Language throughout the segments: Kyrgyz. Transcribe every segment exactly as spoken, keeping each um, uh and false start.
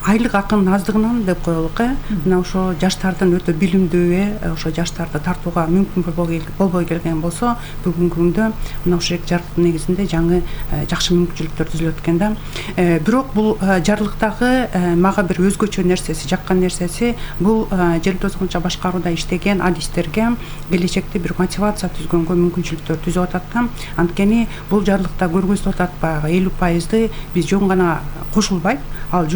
айлык акынын аздыгынан деп коелук э мына ошо жаштардын өтө билимдүү э ошо жаштарды тартууга мүмкүн болбой келген болсо бүгүнкү күндө мына ушул жарлыктын негизинде жаңы жакшы мүмкүнчүлүктөр түзүлөт экен да. Бирок бул жарлыктагы мага бир өзгөчө нерсеси, жаккан нерсеси бул жер тозгончо башкарууда иштеген адистерге келечекте бир мотивация түзгөнгө мүмкүнчүлүктөр түзүп атат да. Анткени бул жарлыкта көргөзүлүп атат баягы элүү пайызды биз жөн гана кошулбайт, ал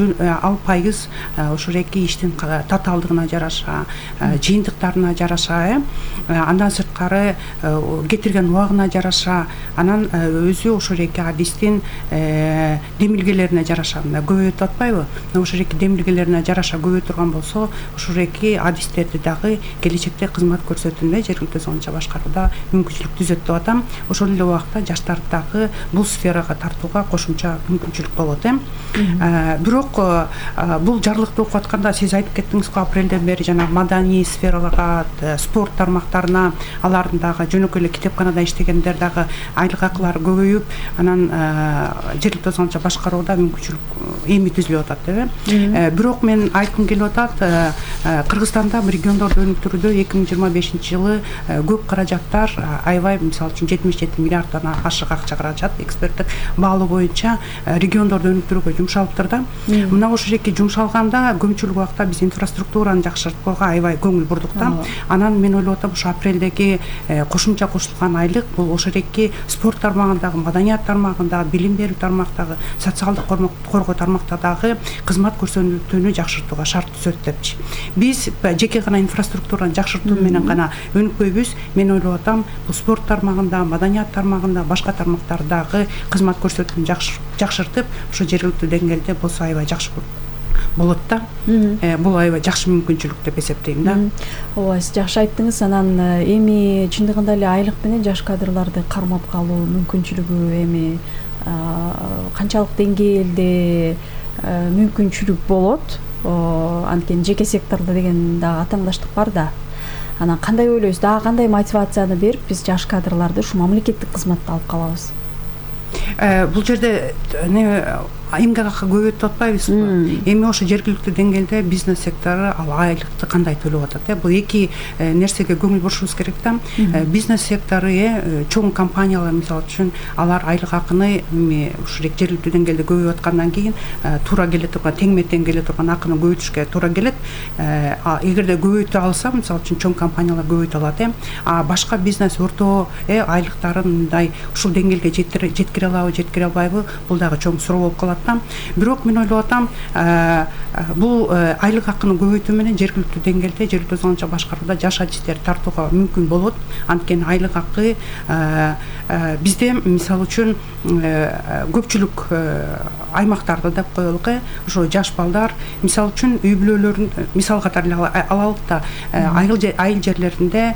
ал пайыз ошол эки иштин татаалдыгына жараша, жыйынтыктарына жараша, э андан сырткары кетирген убагына жараша, анан өзү ошол эки адистин демилгелерине жараша мына көбөйтүп атпайбы? Ошол эки демилгелерине жараша көбөйө турган болсо, ошол эки адистерди дагы келечекте кызмат көрсөтүүндө жергиликтүү тозгончо башкарууда мүмкүнчүлүк түзөт деп атам. Ошол эле убакта жаштарды дагы бул сферага тартууга кошумча мүмкүнчүлүк болот э. Бирок бул жарлыкты окуп атканда сиз айтып кеттиңиз го, апрелден бери жана маданий сфераларга, спорт тармактарына, алардын дагы жөнөкөй эле китепканада иштегендер дагы айлык акылары көбөйүп, анан жергиликтүү тозгончо башкарууда мүмкүнчүлүк эми түзүлүп атат деп. Бирок мен айткым келип атат, Кыргызстанда региондорду өнүктүрүүдө эки миң жыйырма бешинчи жылы көп каражаттар, аябай мисалы үчүн жетимиш жети миллиарддан ашык акча каражат эксперттик баалоо боюнча региондорду өнүктүрүүгө жумшалыптыр да. Мына ошол эки жумшалганда көпчүлүк убакта биз инфраструктураны жакшыртканга аябай көңүл бурдук да. Анан мен ойлоп атам, ошо апрелдеги кошумча кошулган айлык бул ошол эки спорт тармагындагы, маданият тармагындагы, билим берүү тармактагы, социалдык коргоо тармактардагы кызмат көрсөтүүнү жакшыртууга шарт түзөт депчи. Биз жеке гана инфраструктураны жакшыртуу менен гана өнүкпөйбүз. Мен ойлоп атам, бул спорт тармагында, маданият тармагында, башка тармактардагы кызмат көрсөтүүнү жакшыртып, ошо жергиликтүү деңгээлде болсо аябай жакшы болот да. Бул аябай жакшы мүмкүнчүлүк деп эсептейм да. Ооба, сиз жакшы айттыңыз. Анан эми чындыгында эле айлык менен жаш кадрларды кармап калуу мүмкүнчүлүгү эми канчалык деңгээлде мүмкүнчүлүк болот? Анткени жеке сектордо деген дагы атаандаштык бар да. Анан кандай ойлойсуз? Дагы кандай мотивацияны берип биз жаш кадрларды ушу мамлекеттик кызматта алып калабыз? Бул жерде эмгек акы көбөйтүп атпайбызбы? Эми ошо жергиликтүү деңгээлде бизнес сектору ал айлыкты кандай төлөп атат э? Бул эки нерсеге көңүл бурушубуз керек да. Бизнес сектору э чоң компаниялар мисалы үчүн алар айлык акыны эми ушул жергиликтүү деңгээлде көбөйүп аткандан кийин туура келе турган, теңме тең келе турган акыны көбөйтүшкө туура келет. Эгерде көбөйтө алса, мисалы үчүн чоң компаниялар көбөйтө алат э. А башка бизнес орто э айлыктарын мындай ушул деңгээлге жеткире алабы, жеткире албайбы? Бул дагы чоң суроо болуп калат. Бирок мен ойлоп атам, бул айлык акыны көбөйтүү менен жергиликтүү деңгээлде жергиликтүү тозгончо башкарууда жаш адистерди тартууга мүмкүн болот. Анткени айлык акы бизде мисалы үчүн көпчүлүк аймактарда деп коелук э, ошо жаш балдар мисалы үчүн үй бүлөлөрүн мисал катары алалык да, айыл жерлеринде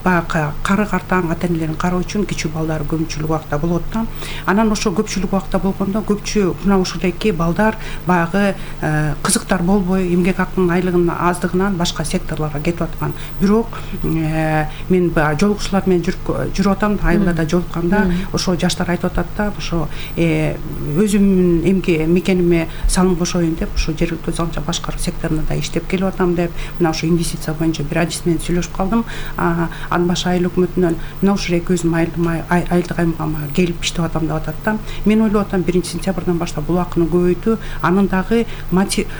баягы кары картаң ата энелерин кароо үчүн кичүү балдар көпчүлүк убакта болот да. Анан ошо көпчүлүк убакта болгондо көпчү мына ошол эки балдар баягы кызыктар болбой, эмгек акынын айлыгынын аздыгынан башка секторлорго кетип аткан. Бирок мен жолугушуулар менен жүрүп атам, айылдарда жолукканда ошо жаштар айтып атат да, ошо өзүмдүн эмгек мекениме салым кошоюн деп, ошо жергиликтүү тозгончо башкаруу секторунда иштеп келип атам деп, мына ошо инвестиция боюнча бир адис менен сүйлөшүп калдым. Ан башы айыл өкмөтүнөн мына ушул эки өзүм айылдык аймагыма келип иштеп атам деп атат да. Мен ойлоп атам, биринчи сентябрдан баштап бул акыны көбөйтүү, анын дагы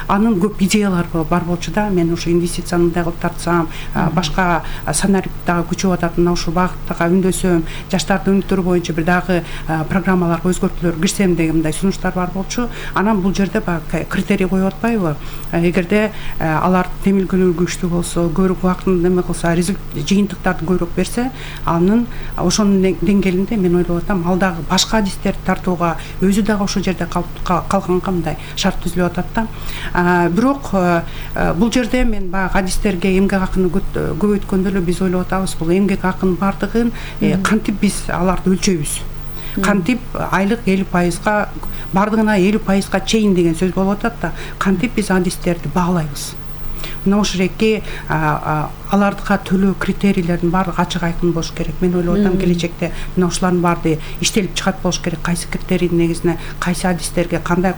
анын көп идеялары бар болчу да. Мен ошо инвестицияны мындай кылып тартсам, башка сценарий дагы күчөп атат, мына ушул багыттага үндөсөм, жаштарды өнүктүрүү боюнча бир дагы программаларга өзгөртүүлөр кирсем деген мындай сунуштар бар болчу. Анан бул жерде баягы критерий коюп атпайбы? Эгерде алар демилгелөө күчтүү болсо, көбүрөөк убактын неме кылса, жыйынтыктарды көбүрөөк берсе, анын ошонун деңгээлинде мен ойлоп атам, ал дагы башка адистерди тартууга, өзү дагы ошол жерде калганга мындай шарт түзүлүп атат да. Бирок бул жерде мен баягы адистерге эмгек акыны көбөйткөндө эле биз ойлоп атабыз, бул эмгек акынын бардыгын кантип биз аларды өлчөйбүз? Кантип айлык элүү пайызга бардыгына элүү пайызга чейин деген сөз болуп атат да. Кантип биз адистерди баалайбыз? Мына ошол эки алардыга төлөө критерийлердин баардыгы ачык айкын болуш керек. Мен ойлоп атам, келечекте мына ушулардын баары иштелип чыгат болуш керек. Кайсы критерийдин негизине кайсы адистерге кандай